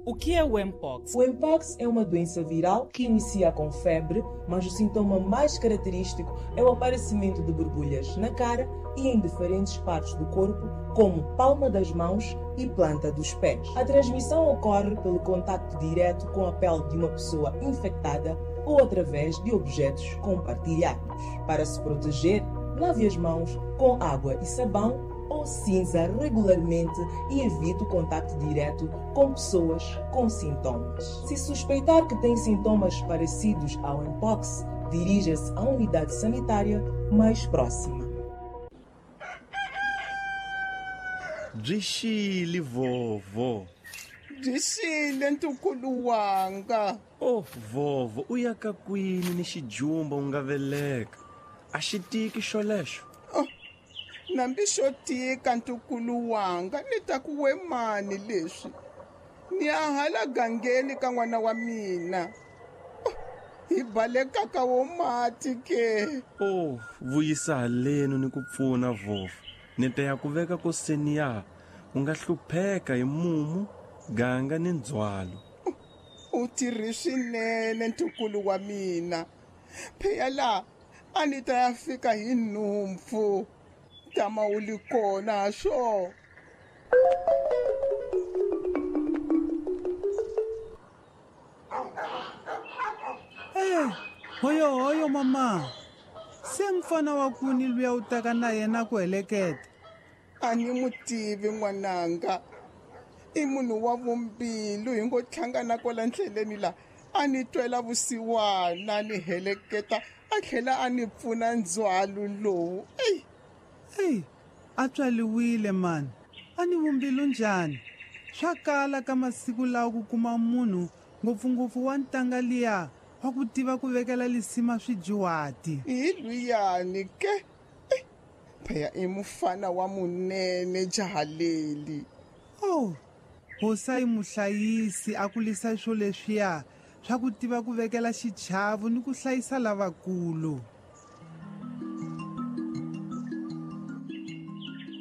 O que é o Mpox? O Mpox é uma doença viral que inicia com febre, mas o sintoma mais característico é o aparecimento de borbulhas na cara e em diferentes partes do corpo, como palma das mãos e planta dos pés. A transmissão ocorre pelo contato direto com a pele de uma pessoa infectada ou através de objetos compartilhados. Para se proteger, lave as mãos com água e sabão ou cinza regularmente e evite o contato direto com pessoas com sintomas. Se suspeitar que tem sintomas parecidos ao Mpox, dirija-se à unidade sanitária mais próxima. Byi xile vovho. Byi xile ntukulu wanga. Oh vovho, u ya ka kwini ni xijumba u nga veleka? A xi tiki xolexo? Oh, nambi xo tika ntukulu wanga, ni ta ku we mani leswi. Ni ya hala gangeni ka n'wana wa mina. Oh, hi baleka ka wo mati ke. Oh, vuyisa halenu ni ku pfuna vovho. Ni ta ya ku veka koseni ya u nga hlupheka hi mumu, ganga ni ndzhwalo. U tirhi swinene ntukulu wa mina. Pheya la a ni ta ya fika hi nhumpfu. Tama u li kona swo. Eh, hoyo hoyo mama. Se mfana wa kuni luya u taka na yena ku heleketa. A ni mu tivi n'wananga. I munhu wa vumbilu hi ngo hlangana kwala ndleleni la. A ni twela vusiwana ni heleketa a tlhela a ni pfuna ndzhwalo lowu. Ey. Ey, a tswaliwile mani. A ni vumbilu njhani? Swa kala ka masiku lawa ku kuma munhu ngopfungopfu wa ntanga liya wa ku tiva ku vekela lisima swidyuhati. Hi luyani ke. Phaya i mufana wa munene jaha leli. Oh, hosi a yi muhlayisi a kulisa swo leswiya swa ku tiva ku vekela xichavo ni ku hlayisa lavakulu.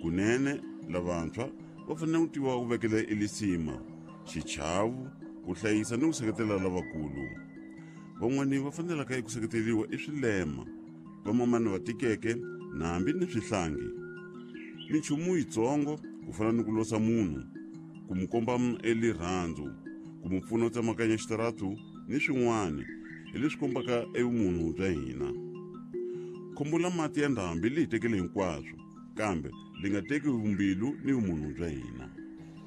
Kunene lavantshwa va fanele ku tiva ku vekela elisima, xichavo, ku hlayisa ni ku seketela lavakulu. Van'wani va fanelaka eku seketeriwa i swilema, vamamani va tikeke na hambi ni swihlangi. Minchumu yitsongo ku fana ni ku losa munhu, ku mu komba elirhandzu, ku mu pfuna u tsemakanya xitaratu ni swin'wana hi leswi kombaka evumunhu bya hina. Khombo la mati ya ndhambi li hi tekele hinkwaswo, kambe li nga teki vumbilu ni vumunhu bya hina.